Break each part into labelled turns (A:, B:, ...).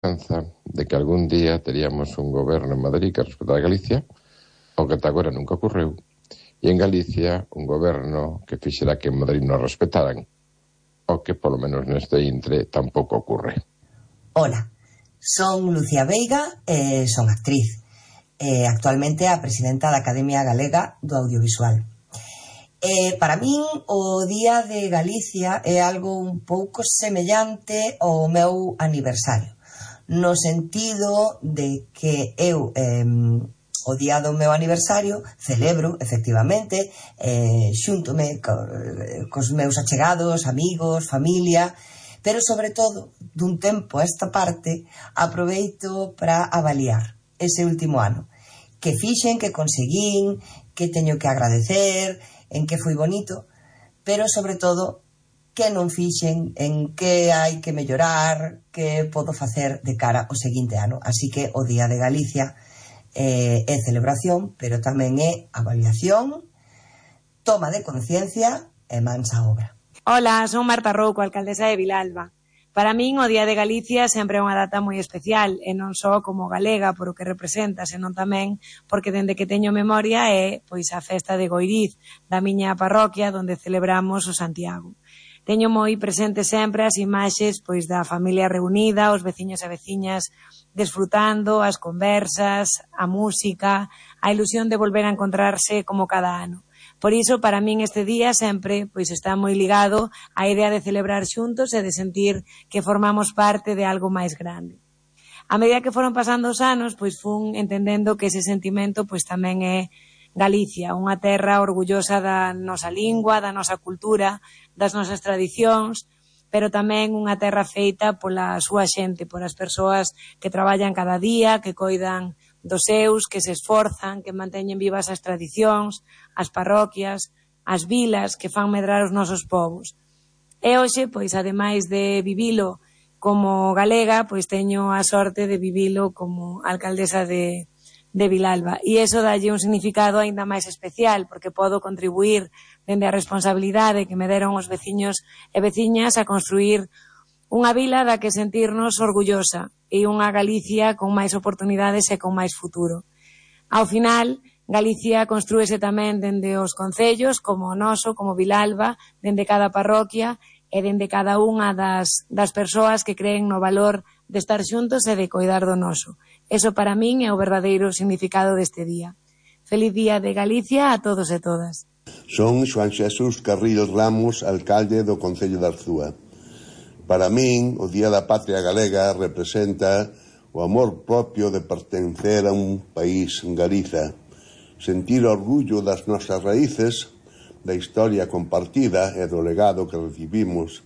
A: de que algún día teríamos un goberno en Madrid que respetara Galicia, o que ata agora nunca ocorreu, e en Galicia un goberno que fixera que en Madrid non respetaran, o que polo menos neste intre tampouco ocurre.
B: Hola, son Lucía Veiga e son actriz, actualmente a presidenta da Academia Galega do Audiovisual. Para min o Día de Galicia é algo un pouco semellante ao meu aniversario, no sentido de que eu o día do meu aniversario celebro, efectivamente, xúntome cos meus achegados, amigos, familia, pero sobre todo, dun tempo a esta parte, aproveito para avaliar ese último ano. Que fixen, que conseguín, que teño que agradecer, en que foi bonito, pero sobre todo que non fixen, en que hai que mellorar, que podo facer de cara ao seguinte ano. Así que o Día de Galicia é celebración, pero tamén é avaliación, toma de conciencia e mans á obra.
C: Hola, son Marta Rouco, alcaldesa de Vilalba. Para min o Día de Galicia sempre é unha data moi especial, e non só como galega por o que representa, senón tamén porque dende que teño memoria é pois a festa de Goiriz, da miña parroquia, onde celebramos o Santiago. Teño moi presente sempre as imaxes pois da familia reunida, os veciños e veciñas desfrutando, as conversas, a música, a ilusión de volver a encontrarse como cada ano. Por iso, para min este día sempre pois está moi ligado á idea de celebrar xuntos e de sentir que formamos parte de algo máis grande. A medida que foron pasando os anos, pois fun entendendo que ese sentimento pois tamén é Galicia, unha terra orgullosa da nosa lingua, da nosa cultura, das nosas tradicións, pero tamén unha terra feita pola súa xente, polas persoas que traballan cada día, que coidan dos seus, que se esforzan, que manteñen vivas as tradicións, as parroquias, as vilas que fan medrar os nosos povos. E hoxe, pois, ademais de vivilo como galega, pois teño a sorte de vivilo como alcaldesa de Vilalba. E iso dalle un significado aínda máis especial, porque podo contribuir dende a responsabilidade que me deron os veciños e veciñas a construir unha vila da que sentirnos orgullosa e unha Galicia con máis oportunidades e con máis futuro. Ao final, Galicia construíse tamén dende os concellos, como o noso, como Vilalba, dende cada parroquia e dende cada unha das persoas que creen no valor de estar xuntos e de coidar do noso. Eso para min é o verdadeiro significado deste día. Feliz Día de Galicia a todos e todas.
D: Son Xoán Xesús Carril Ramos, alcalde do Concello de Arzúa. Para min, o Día da Patria Galega representa o amor propio de pertencer a un país, Galiza, sentir orgullo das nosas raíces, da historia compartida e do legado que recibimos,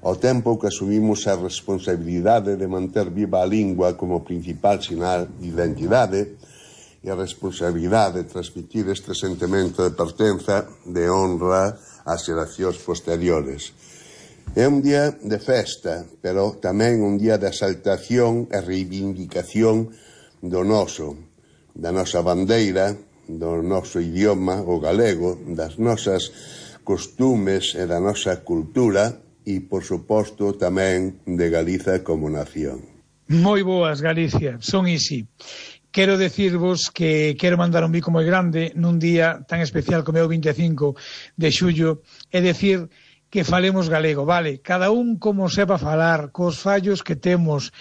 D: ao tempo que asumimos a responsabilidade de manter viva a lingua como principal sinal de identidade e a responsabilidade de transmitir este sentimento de pertenza, de honra ás xeracións posteriores. É un día de festa, pero tamén un día de exaltación e reivindicación do noso, da nosa bandeira, do noso idioma, o galego, das nosas costumes e da nosa cultura e, por suposto, tamén de Galiza como nación.
E: Moi boas, Galicia, son Isi. Quero decirvos que quero mandar un bico moi grande nun día tan especial como é o 25 de xullo, é decir que falemos galego, vale, cada un como sepa falar, cos fallos que temos,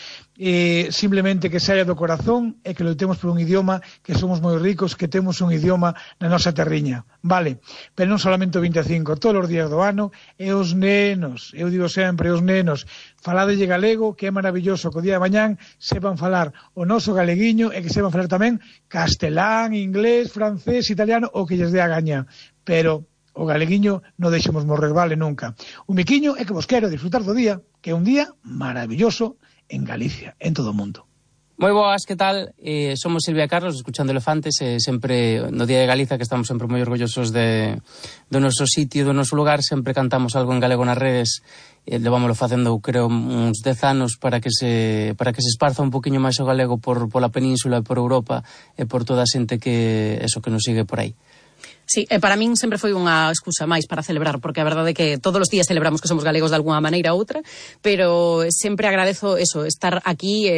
E: simplemente que saia do corazón e que loitemos por un idioma, que somos moi ricos, que temos un idioma na nosa terriña, vale, pero non solamente o 25, todos os días do ano, e os nenos, eu digo sempre, os nenos, faladelle galego, que é maravilloso, que o día de mañán sepan falar o noso galeguiño e que sepan falar tamén castelán, inglés, francés, italiano, o que lles dé a gaña, pero o galeguiño non deixemos morrer, vale, nunca. Un miquiño é que vos quero disfrutar do día, que é un día maravilloso en Galicia, en todo o mundo.
F: Moi boas, que tal? Somos Silvia e Carlos, escuchando Elefantes, sempre no Día de Galiza, que estamos sempre moi orgullosos do noso sitio, do noso lugar, sempre cantamos algo en galego nas redes, levámoslo facendo, creo, uns 10 anos para que se esparza un poquinho máis o galego pola península e por Europa e por toda a xente que nos sigue por aí.
G: Sí, para min sempre foi unha excusa máis para celebrar, porque a verdade é que todos os días celebramos que somos galegos de algunha maneira ou outra, pero sempre agradezo eso, estar aquí